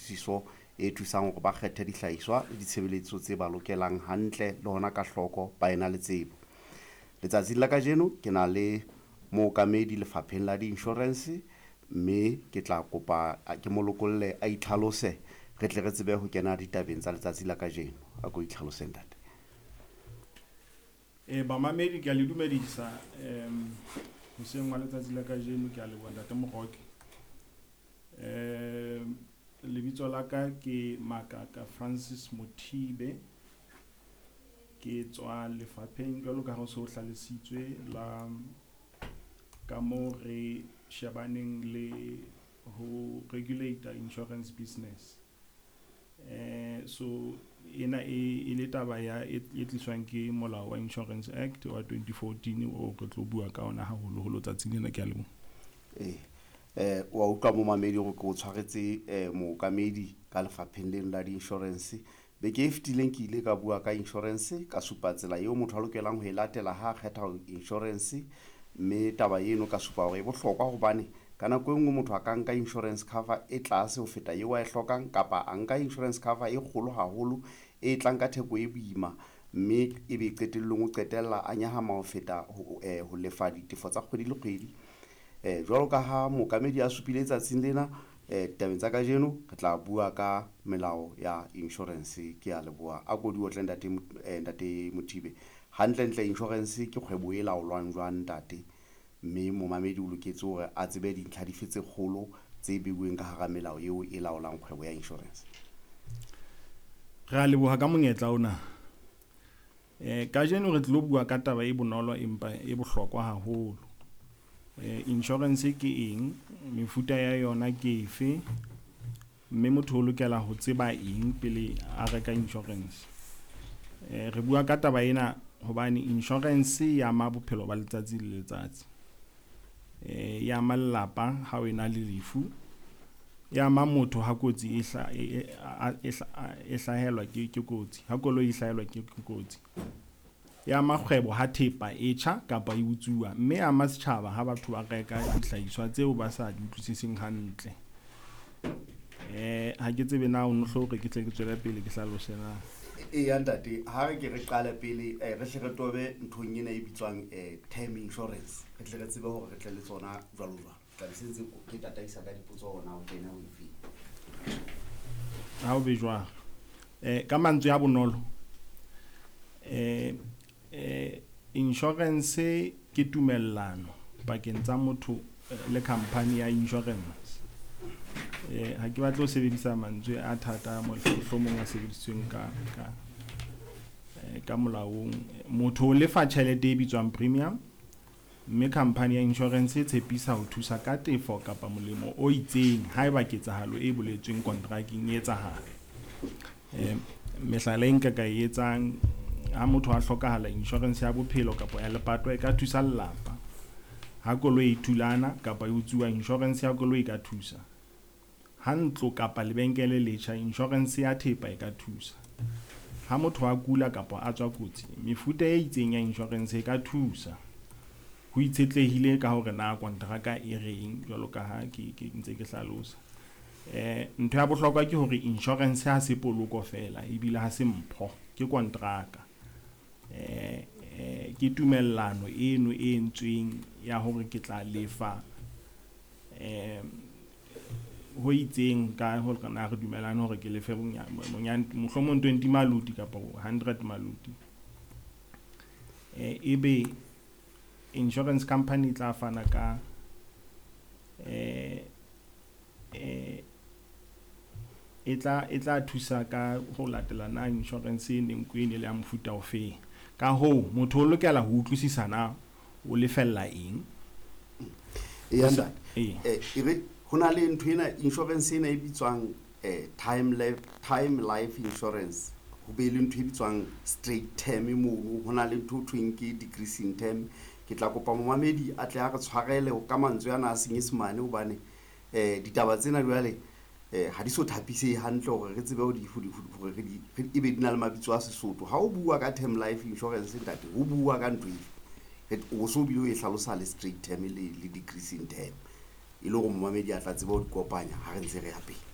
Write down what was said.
kutlwisiso e thusang hore ba kgethe dihlahiswa le ditshebeletso tse ba lokelang hantle le hona ka hloko ba ena le tsebo. Letsatsing la kajeno ke na le mookamedi lefapheng la di-insurance, mme ke tla kopa ke mo lokolle a itlhalose re tle re tsebe ho kena ditabeng tsa letsatsi la kajeno. A ko itlhalose, ntate. Bamamedi, ke a le dumedisa hoseng wa letsatsi la kajeno. Ke a leboha, ntate Moroke. Lebitso la ka ke Makaka Francis Mothibe. Ke tswa lefapheng, jwalo ka ha ho se ho hlalositswe, la ka moo re shebaneng le ho regulate insurance business. So ena e le taba ya e tliswang ke molao wa Insurance Act wa 2014 o re tlo bua ka ona haholoholo tsatsing lena. Ke a leboha. Ee, wa utlwa, momamedi, hore ke o tshwaretse mookamedi ka lefapheng leno la di-insurance. Beke e fetileng ke ile ka bua ka insurance, ka supa tsela eo motho a lokelang ho e latela ha a kgetha insurance, mme taba eno ka supa hore e bohlokwa hobane ka nako e nngwe motho a ka nka insurance cover e tlase ho feta eo a e hlokang, kapa a nka insurance cover e kgolo haholo e tlang ka theko e boima, mme ebe qetellong o qetella a nyahama ho feta ho lefa ditefo tsa kgwedi le kgwedi. Jwalo ka ha mookamedi a supile, tsatsing lena ditabeng tsa kajeno re tla bua ka melao ya insurance. Ke a leboha. A ko di otle, ntate Mothibe. Hantlentle insurance ke kgwebo e laolwang jwang, ntate? Mme momamedi o loketse hore a tsebe dintlha dife tse kgolo tse beuweng ka hara melao eo e laolang kgwebo ya insurance? Re a leboha ka monyetla ona. Kajeno re tlo bua ka taba e bonolo empa e bohlokwa haholo. Insurance ke eng, mefuta ya yona ke efe, mme motho o lokela ho tseba eng pele a reka insurance? Re bua ka taba ena hobane insurance e ama bophelo ba letsatsi le letsatsi. E ama lelapa ha o ena le lefu, e ama motho ha kotsi e hlahelwa ke kotsi, ha koloi e hlahelwa ke kotsi. E ama kgwebo ha thepa e tjha kapa e utsuwa, mme e ama setjhaba ha batho ba reka dihlahiswa tseo ba sa di utlwisiseng hantle. Ha ke tsebe na o no hore ke tle ke tswele pele ke hlalose na. Eya, ntate, ha re ke re qale pele, re hle re tobe nthong ena e bitswang term insurance, re tle re tsebe hore re tle le tsona jwalo jwalo. Tla be se ntse ke tataisa ka dipotso hore na o kene ho efeng. Ha o be jwalo. Ka mantswe a bonolo, insurance ke tumellano pakeng tsa motho le company ya insurance. Ha ke batle ho sebedisa mantswe a thata, mohlomong a sebedisitsweng ka molaong. Motho o lefa tjhelete e bitswang premium, mme company ya insurance e tshepisa ho thusa ka tefo kapa molemo o itseng haeba ketsahalo e boletsweng kontrakeng e etsahala. Mehlala e nka ka e etsang: ha motho a hlokahala, insurance ya bophelo kapa ya lepato e ka thusa lelapa. Ha koloi e thulana kapa e utsuwa, insurance ya koloi e ka thusa. Ha ntlo kapa lebenkele letjha, insurance ya thepa e ka thusa. Ha motho a kula kapa a tswa kotsi, mefuta e itseng ya insurance e ka thusa, ho itshetlehile ka hore na kontraka e reng, jwalo ka ha ke ntse ke hlalosa. Ntho ya bohlokwa ke hore insurance ha se poloko fela, ebile ha se mpho, ke kontraka. Ke tumellano eno e entsweng ya hore ke tla lefa ho itseng, ka hore na re dumellane hore ke lefe bonyane mohlomong 20 maloti kapa 100 maloti, ebe insurance company e tla fana ka eh eh e tla thusa ka ho latela na insurance e neng e ne le ya mofuta ofeng. Ka hoo motho o lokela ho utlwisisa na o lefella eng. Eya, ntate. Ee. E re ho na le ntho ena, insurance ena e bitswang time life insurance, ho be le ntho e bitswang straight term mono, ho na le ntho ho thweng ke decreasing term. Ke tla kopa momamedi a tle a re tshwarele ka mantswe ana a Senyesemane hobane ditaba tsena jwale ha di so thapisehe hantle hore re tsebe ho di ho di hore re di ebe di na le mabitso a Sesotho. Ha o bua ka term life insurance, ntate, ho bua ka ntho efe? O so bile o e hlalosa le straight term le decreasing term, e le hore momamedi a tla tseba ho di kopanya ha re ntse re ya pele.